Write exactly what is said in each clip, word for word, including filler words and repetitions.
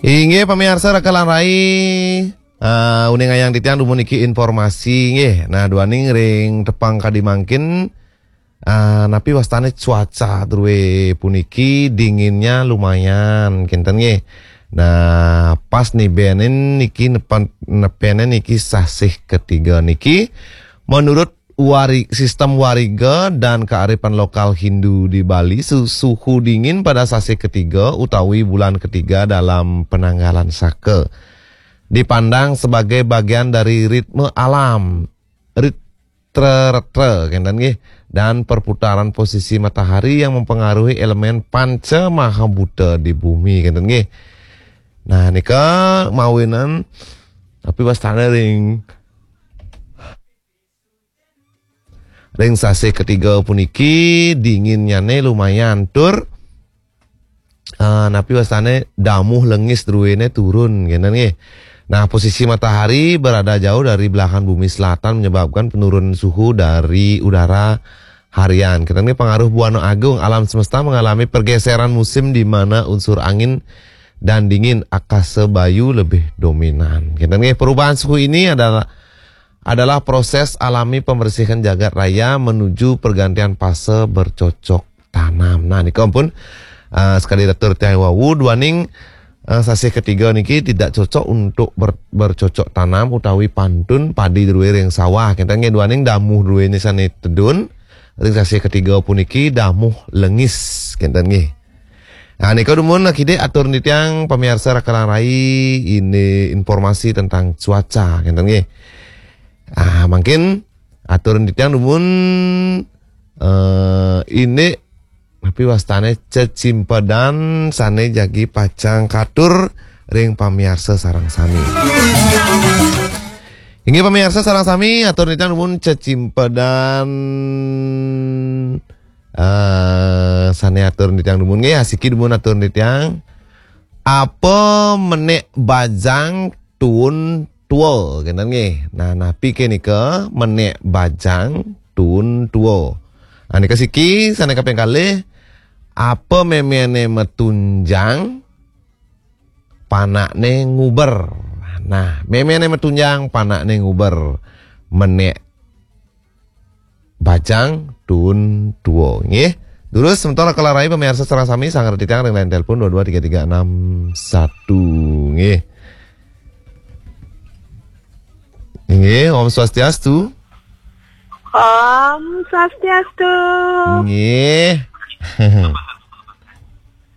Inggih pamiarsa Raka lan Rai. Ah, uningayang titiang dumun niki informasi nggih. Nah, duaning ring tepang kadi mangkin, ah, napi wastane cuaca druwe puniki dinginnya lumayan kinten nggih. Nah, pas nibenin niki nepen-, nepene niki sasih ketiga niki menurut wari-, sistem wariga dan kearifan lokal Hindu di Bali, su-, suhu dingin pada sasih ketiga utawi bulan ketiga dalam penanggalan saka dipandang sebagai bagian dari ritme alam, ritme retra, kenten nggih, dan perputaran posisi matahari yang mempengaruhi elemen panca mahabuta di bumi, kenten nggih. Nah, nika mawinan tapi wastane ring ring sasih ketiga puniki dinginnyane lumayan tur, eh, napi wastane damuh lengis druwene turun, kenten nggih. Nah, posisi matahari berada jauh dari belahan bumi selatan menyebabkan penurunan suhu dari udara harian. Kenten nggih, pengaruh Buana Agung, alam semesta mengalami pergeseran musim di mana unsur angin dan dingin akasa bayu lebih dominan. Kenten nggih, perubahan suhu ini adalah adalah proses alami pembersihan jagat raya menuju pergantian fase bercocok tanam. Nah, nika ampun, eh, sekadi atur tiang wau, duaning, eh, sasih ketiga niki tidak cocok untuk ber-, bercocok tanam utawi pantun padi druwe ring sawah. Kenten nggih, duaning damuh druwene sane tedun ring sasih ketiga puniki damuh lengis. Kenten nggih. Nah, nika dumun akidik atur titiang pamiarsa Raka lan Rai, ini informasi tentang cuaca, kenten nggih. Ah, mangkin atur titiang dumun, eh, ini napi wastane cecimpedan sane jagi pacang katur ring pamiarsa sareng sami. Inggih pamiarsa sareng sami, atur titiang dumun cecimpedan, eh, sane atur titiang dumun nggih, asiki dumun atur titiang. Apa menek bajang tuun tua, kenten nggih. Nah, napi ke nika menek bajang tuun tua? Nah, nika siki sane kaping kalih, apa memene matunjang panakne nguber. Nah, memene matunjang panakne nguber. Menek bajang tuun tua, nggih. Durus semeton Raka lan Rai pamiarsa sareng sami, sanggra titiang ring line telepon dua dua tiga tiga enam satu, nggih. Nggih, Om Swastiastu. Om Swastiastu. Nggih.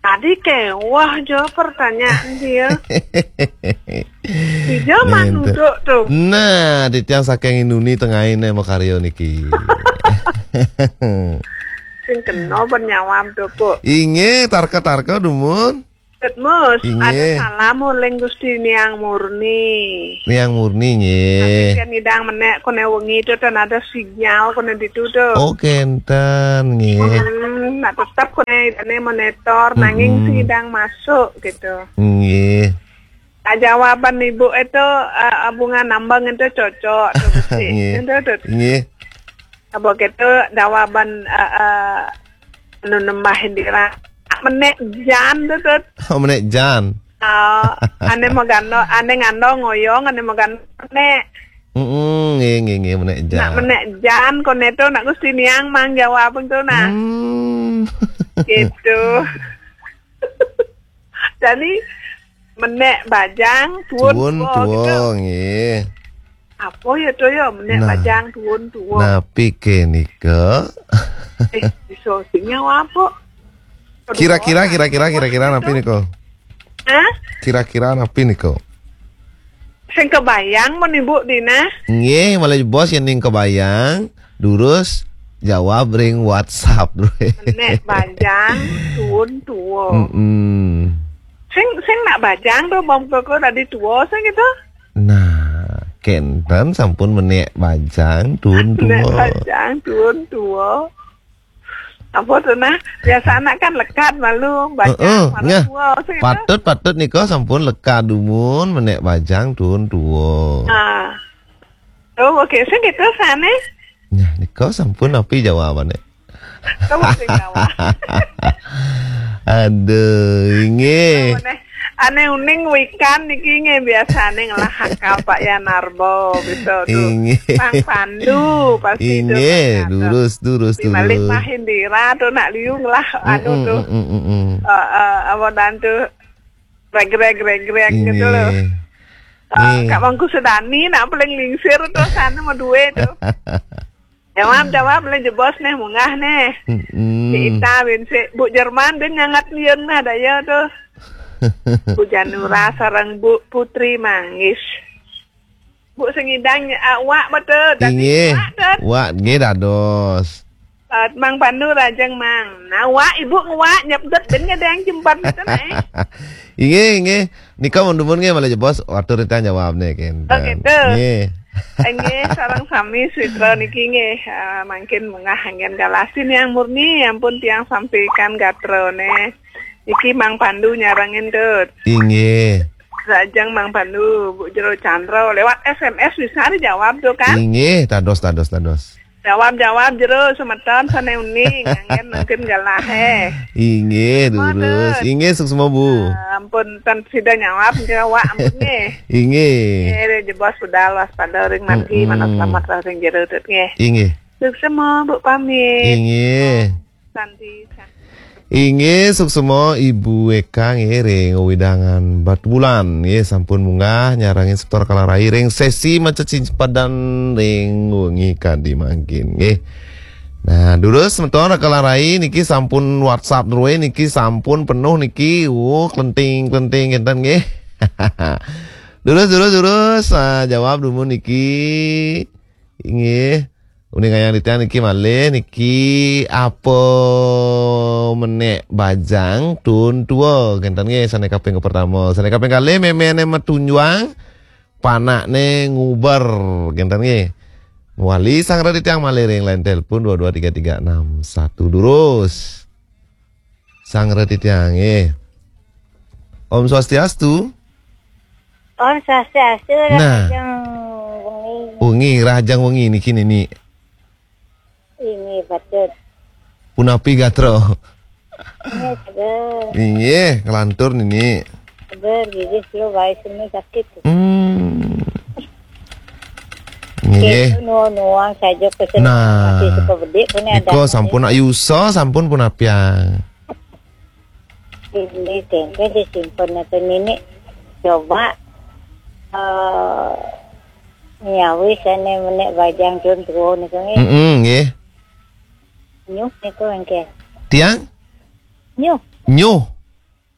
Tadi kewah jo pertanyaan dia. Ija manuduk tu. Nah, titiang saking Inuni tengahin makarya niki. Sing kena bernyawam tu, Bu. Inggih, tarka-tarka dumun. Mus, inggih. Ada salam uling Gusti Niang Murni. Niang Murni, nggih. Tapi kan ngidang menek kone wengi tu tan ada sinyal kone ditu tu. Oh, kenten, nggih. Hmm, nah tetap kone idane monitor, nanging sing ngidang masuk gitu. Nggih. Ah, jawaban ibu itu, eh, bunga nambang itu cocok tu, Gusti. Nggih. Itu tu. Nggih. Apa gitu jawaban, eh, eh, anu nembah Indira. Menek jan tu, Tut. Oh, menek jan. Oh, ane magando, ane ngando ngoyong, ane magando menek. Mm-mm, nggih, nggih, nggih, menek jan. Nak menek jan, kone tu nak Gusti Niang mang jawab tu nah. Hmm. Gitu. Jadi, menek bajang, tuun tuun tua, tua, gitu. Nggih. Apa ya tu ya, menek bajang, tuun tua? Nah, napi ke nika? Eh, iso sing nyawa apa? Kira-kira, kira-kira, kira-kira napi nika? Hah? Kira-kira napi nika? Sing kebayang mun ibu dina? Nggih, malah bos yang ning kebayang. Durus jawab ring WhatsApp. Nek bajang tuun tua. Mm-mm. Sing, sing nak bajang tu bang koko tadi tua sing gitu. Nah, kenten sampun menek bajang tuun tua. Nek bajang tuun tua. Apa tu nah? Biasa anak kan lekat malu bajang. Heeh, malu tua sing gitu. Patut, patut nika sampun lekat dumun menek bajang tuun tua. Ah. Oh, oke, sing gitu sane. Nah, nika sampun napi jawabane? Kamu sing jawab. Aduh, inggih. Apa neh? Ane uning wikan niki nggih biasane ngelah akal Pak Yanarbo, bisa tuh. Inggih. Mang Pandu pasti itu. Inggih, Pak Gatot. Durus, durus, Di Malik durus. Mahendra tuh nak liu ngelah anu Mm-mm, tuh. Mm-mm, mm-mm. Eh, eh, apa dan tuh regrek-regrek gitu loh. Inggih. Eh, Nggih. Kak Mangku Sedani nak paling lingsir tuh sana mau duwe tuh. Jawab, jawab le jebos neh munggah neh. Mm-mm. Si Ita bin si Bu Jerman bin nyangat liun nah daya tuh. Bu Janura sareng Bu Putri Manggis. Bu sengidang ah, wak betul. Inggih. Wak, Dad. Wak nggih dados. Ah, Mang Pandu rajeng Mang. Nah, wak ibu ngewak nyepdet bin ngedeng jembat betul eh. Inggih, inggih. Nika mun dumun nggih malih jebos watur titiang jawab nih kenten. Oh, gitu. Nggih. Nggih, sareng sami sitra niki nggih, eh, mangkin munggah anggen galasin yang murni, ampun tiang sampaikan gatrone. Niki Mang Pandu nyarengin tut. Inggih. Rajeng Mang Pandu, Bu Jero Chandra lewat S M S bisa dijawab tuh kan? Inggih, tados, tados, tados. Jawab-jawab jero semeton sane uning anggen mangkin galah eh. Inggih, Mboten. Durus. Inggih, suksma, Bu. Ah, ampun ten sida nyawab jawab ampun nggih. Inggih. Nggih, jebos budal waspada ring margi, Mm-mm. Mana selamat lah ring jero tut nggih. Inggih. Suksma, Bu pamit. Inggih. Santi, santi. Inggih, suksma Ibu Eka nggih ring wewidangan Batubulan nggih sampun munggah nyarengin semeton Raka Larai ring sesi maca cimpadan ring wengi kadi mangkin nggih. Nah, durus semeton Raka Larai niki sampun WhatsApp druwe niki sampun penuh niki. Oh, klenting-klenting kenten nggih. Durus, durus, durus. Ah, jawab dumun niki. Inggih. Uning ayang titiang niki malih niki apa menek bajang tun tua kenten nggih sane kaping pertama. Sane kaping kalih memene metunjuang panakne nguber kenten nggih. Wali sanggra titiang malih ring line telepon dua dua tiga tiga enam satu durus. Sanggra titiang nggih. Om Swastiastu. Om Swastiastu, nah. Rahajeng wengi. Wengi, rahajeng wengi niki nini. Inggih, patut. Punapi gatra? Inggih, seger. Inggih, kelantur nini. Seger, gigis lu bae sini sakit. Hmm. Nggih. Nuwun-nuwun saja pesen. Nah. Masih suka bedik punya. Nika ada sampun ayusa sampun punapiang. Ini tempe disimpen atau nini coba eh nyawis ane menek bajang tun tua niku nggih. Mm-mm, nggih. Nyuh niku engke. Tiang? Nyuh. Nyuh.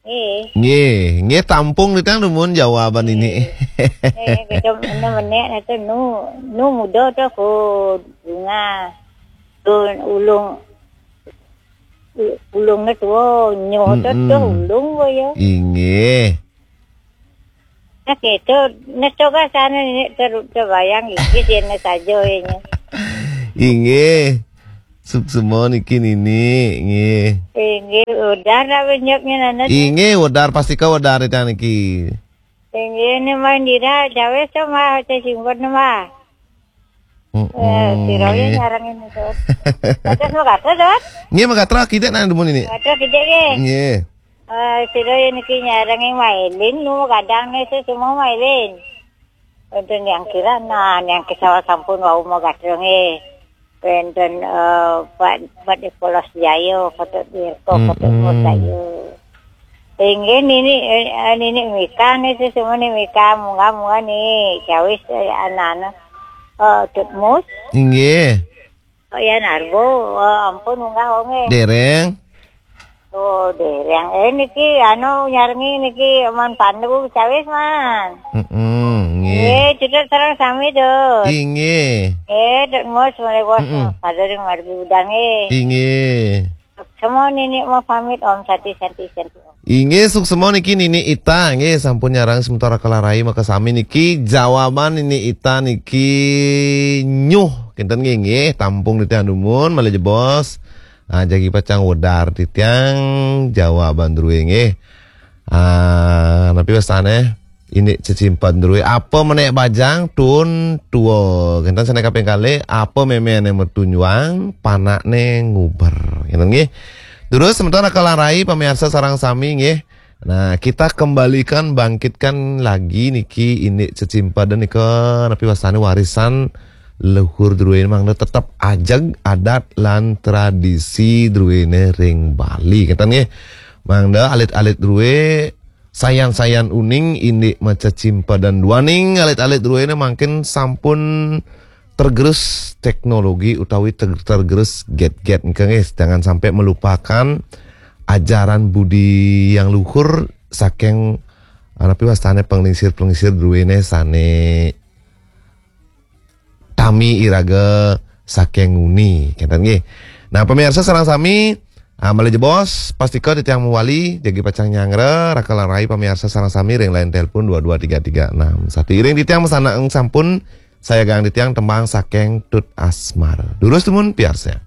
Eh. Nggih, nggih tampung titiang dumun jawaban ini. Eh, kita menek itu nu nu muda tu ku bunga. Tu ulung u- ulungnya tua nyuh tu Mm-mm. Tu ulung ku ya. Inggih. Nah, gitu. Nah, coba sana ini ter terbayang iki sih saja ini. Inggih. Suksma niki nini, nggih. Inggih, udah lah benyaknya nana. Inggih, wedar pastika wedar titiang niki. Inggih, ini main dira, jawes to mah, saya simpen mah. Mm-mm, Eh, sira nggih. Nyarengin itu. Terus mau kata, Dot? Nggih, mangga terus kita nang dumun ini. Kata kita nggih. Nggih. Eh, sira niki nyarengin mailin, nu kadang nih saya semua mailin. Enten yang kira, nah, yang kesawat sampun wau mau gatreng eh. Enten eh, Pak Pak di Polos Jaya, kata Dirko, kata Mm-mm. Polos Jaya. Inggih nini eh, nini Mika nih sih semua nih Mika munggah munggah nih cawis eh, anak-anak eh, Tut Mus. Inggih. Oh ya Narbo, eh, ampun munggah wonge. Dereng. Oh, dereng. Eh niki anu nyarengi niki Man Pandu cawis man. Heeh, nggih. Nggih, cedhek sareng sami Dut. Inggih. Eh, Dut Mus mulai bos Mm-mm. Pada ring margi udange. Inggih. Semua nini mau pamit Om Santi Santi Santi Om. Inggih, suksma niki Nini Ita, nggih, sampun nyarang sementara kalarai makasami niki jawaban Nini Ita niki nyuh. Kinten nggih, nggih, tampung titiang dumun, malih jebos. Ah, jagi pacang wedar titiang jawaban druwe nggih. Ah, napi wastane? Indik cecimpen druwe. Apa menek bajang tun tua. Kinten sane kaping kalih, apa memene metunjuang, panakne nguber. Kinten nggih. Terus sementara kalarai pamiarsa sareng sami nggih. Nah, kita kembalikan, bangkitkan lagi niki indik cecimpedan nika, napi wastane warisan leluhur druene mangda tetep ajeg adat lan tradisi druene ring Bali. Ngeten nggih. Mangda alit-alit drue, sayan-sayan uning indik macecimpedan, duaning alit-alit druene mangkin sampun tergerus teknologi utawi ter- tergerus gadget nika nggih. Jangan sampai melupakan ajaran budi yang luhur saking, ah, napi wastane, panglingsir-panglingsir druene sane tami iraga saking nguni. Kenten nggih. Nah, pemirsa sareng sami, ah, malih jebos, pastika titiang mawali, jagi pacang nyanggra, raka lan rai pemirsa sareng sami ring line telepon dua dua tiga tiga enam satu. Iring titiang masandekan sampun sayagang titiang tembang saking Tut Asmara. Durus dumun piarsa.